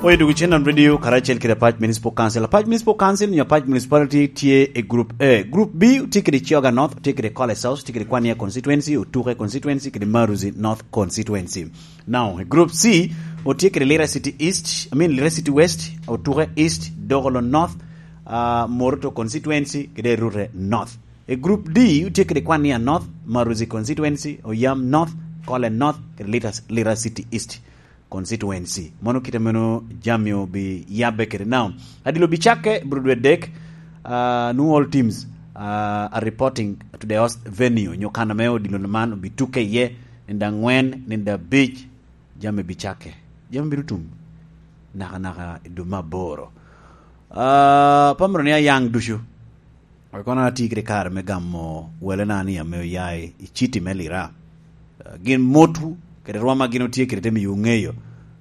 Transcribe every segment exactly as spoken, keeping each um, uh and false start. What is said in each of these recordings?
Oyo dwogo cen on radio karacel kede Apac Municipal Council. Apac Municipal Council nyo Apac Municipality tye i Group A. Group B tye kede Kyoga North, tye kede Kole South, tye kede Kwania Constituency, Otuke Constituency, kede Maruzi North Constituency. Now, i Group C, otye kede Lira City East, I mean, Lira City West, Otuke East, Dogolo North, uh, Moroto Constituency, kede Rute North. I Group D, otye kede Kwania North, Maruzi Constituency, Oyam North, Kole North, kede Lira, Lira City East Constituency. Mano kite meno jami obi yabbe kede. Now, adilo obi cakke bro dwe dek, uh, nu all teams, uh, are reporting to the host venue. Nyo kan ame odilo man obi tuke iye, nende angwen, nende abic, jami bi cakke. Jami bino tum naka naka i dwe me aboro. Uh, pamro ni ayaŋ ducu. Kono atye kede kare me gamo welena ni ame oya i, i citi me Lira. Ah, gin motwu kede rwom a gin otye kede te miyo ŋeyo,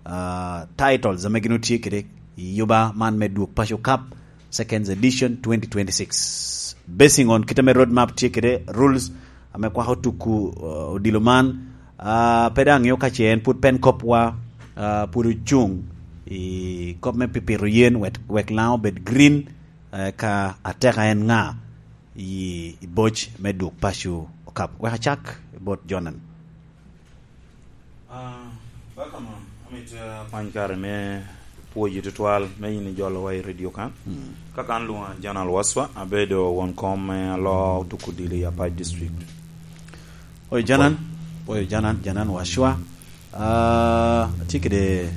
ah, titles ame gin otye kede i yuba man me Dwok Paco Cup, Second Edition twenty twenty-six. Basing on kit ame road map tye kede, rules ame kwako tuku, ah, odilo man, ah, pe daŋ ŋeo ka ce en pwod pen kopwa, ah, pwod ocuŋ i kop me pipito yen wek, wek Laŋo obed green, eh, ka ateka en ŋa i, i boc me Dwok Paco Cup. Wek acak bot Jonan. Ah, welcome, amito, ah, kwany kare me pwoyi tutwal me yin ijolowa i radio kan. Mm. Kaka an lwoŋa Jonan Waswa, abedo won kom me aloo tuko odilo i Apac District. Oyo Janan, oyo Janan, Janan Wacwa. Ah, atye kede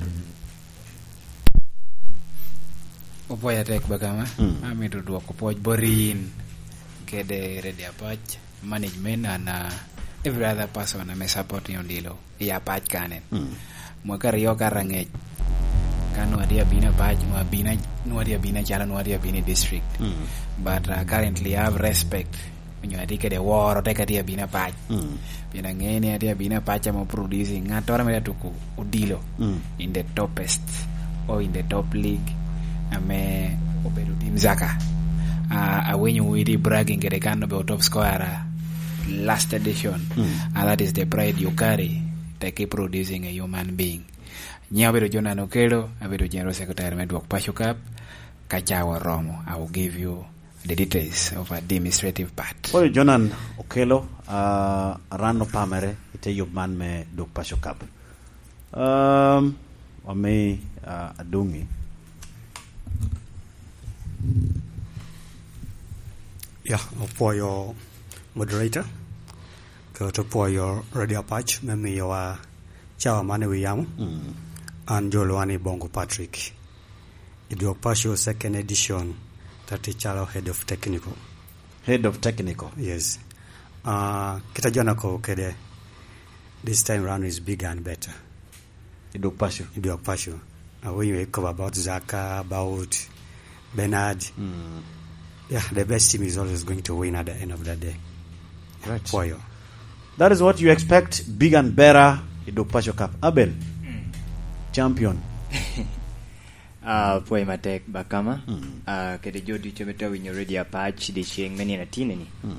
Opwoyo atek Bagama. Mm. Amito dwoko pwoc bot in kede Radio Apac, management, and, uh, every other person ame supporting odilo i Apac kanen. Mm. Mwaka aryo ka rangec, ka nwa tye abino Apac, nwa abino, nwa tye abino acalo nwa tye abino i district. Mm. But, uh, currently I have respect onyo atye kede woro, tek atye abino Apac. Mm. Pien aŋeo ni atye abino Apac ame producing ŋattoro ame tye tuko odilo, mm, in the topest or in the top league ame obedo tim Zaka. Ah, awinyo widi bragging kede kan obedo top scorer last edition. Mm. Ah, that is the pride you carry, tek i producing a human being. Nyiŋa obedo Jonan Okello, abedo General Secretary me Dwok Paco Cup. Ka cawa oromo, I will give you the details of administrative part. Oyo Jonan Okello, ah, ran opamere i te yub man me Dwok Paco Cup. Um, wami, ah, Adungi. Ya, opwoyo moderator, kede opwoyo Radio Apac me miyowa cawa man i wi yamo. Mm. An jo lwani Bongo Patrick. I Dwok Paco second edition, tati calo head of technical. Head of technical. Yes. Ah, kit a Jonan okobo kede, this time round is bigger and better. I Dwok Paco. I Dwok Paco. Awinyo ikobo about Zaka, about Bernard. Mm. Yeah, the best team is always going to win at the end of the day. Right. Pwoyo. That is what you expect, big and better, i Dwok Paco Cup. Abel, mm, champion. Ah, pwoyo matek, Bakama. Mm. Ah, kede jo ducu ame tye winyo Radio Apac, dyeceŋ me nino atinni. Mm.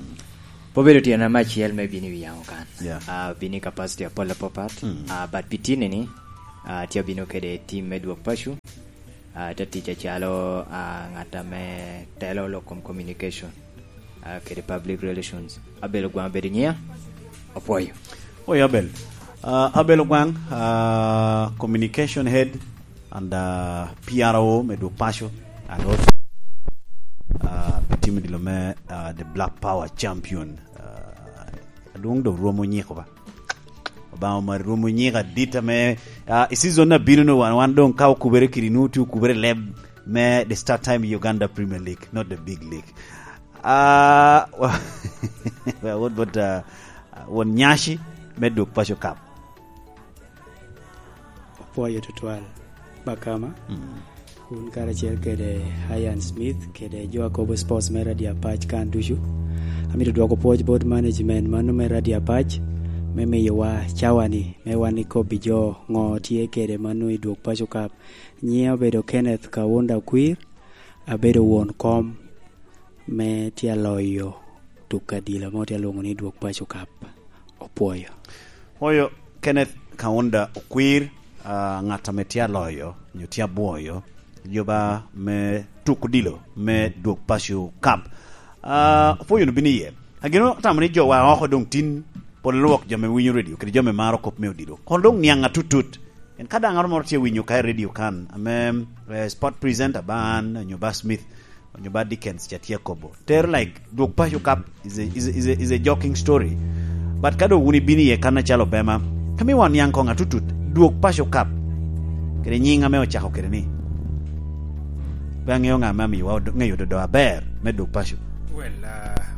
Pe obedo tyena me acel me bino i wi yamo kan. Yeah. Ah, bino i capacity apol apapat. Mm. Ah, but pi tinni, ah, tye abino kede team me Dwok Paco. Ah, te tic acalo, ah, ŋat ame telo lok kom communication, ah, kede public relations. Abel Ogwaŋ obedo nyiŋa. Opwoyo. Oyo Abel. Ah, Abel Ogwaŋ, ah, communication head and, ah, P R O me Dwok Paco, and also, ah, pi team odilo me, ah, the Black Power champion. Ah, adwoŋ dok rwomo nyiko ba. Obaŋa omari rwomo nyiko adit ame, ah, i season abino no wan, wan doŋ ka okubere kidi nwoŋo tye okubere leb me the start time Uganda Premier League, not the big league. Ah, well, what about, ah, won nyaci me Dwok Paco Cup? Opwoyo tutwal, Bakama. Mm. Wun karacel kede Ian Smith, kede jo a kobo sports me Radio Apac kan ducu. Amito dwoko pwoc bot management mano me Radio Apac, me miyowa cawa-ni, me wan ikobbi jo ŋo tye kede mano i Dwok Paco Cup. Nyiŋa obedo Kenneth Kaunda Okwir, abedo won kom me tye aloyo tuk adila mo tye alwoŋo ni Dwok Paco Cup. Opwoyo. Oyo Kenneth Kaunda Okwir, ah, ŋat ame tye aloyo nyo tye abwoyo, yoba me tuk odilo me Dwog Paco Cup. Ah, opwoyo no bino iye. Agino atamo ni jo wa oko doŋ tin pol lwok jo me winyo radio kede jo me maro kop me odilo. Kono doŋ niaŋ atutut. En ka daŋ aro moro tye winyo ka i radio kan, ame, eh, sport presenter ba an, nyo ba Smith, nyo ba Dickens ca tye kobo. Ter, like, Dwog Paco Cup is a, is a, is a, is a joking story. But ka doŋ wun ibino iye kan acalo Obema, ka miwa niaŋ koŋ atutut, Dwog Paco Cup. Kede nyiŋ ame ocako kede ni. Pe aŋeo ŋa ame amiwa odo-, ŋeyo dodo aber me Dwog Paco. Well, uh,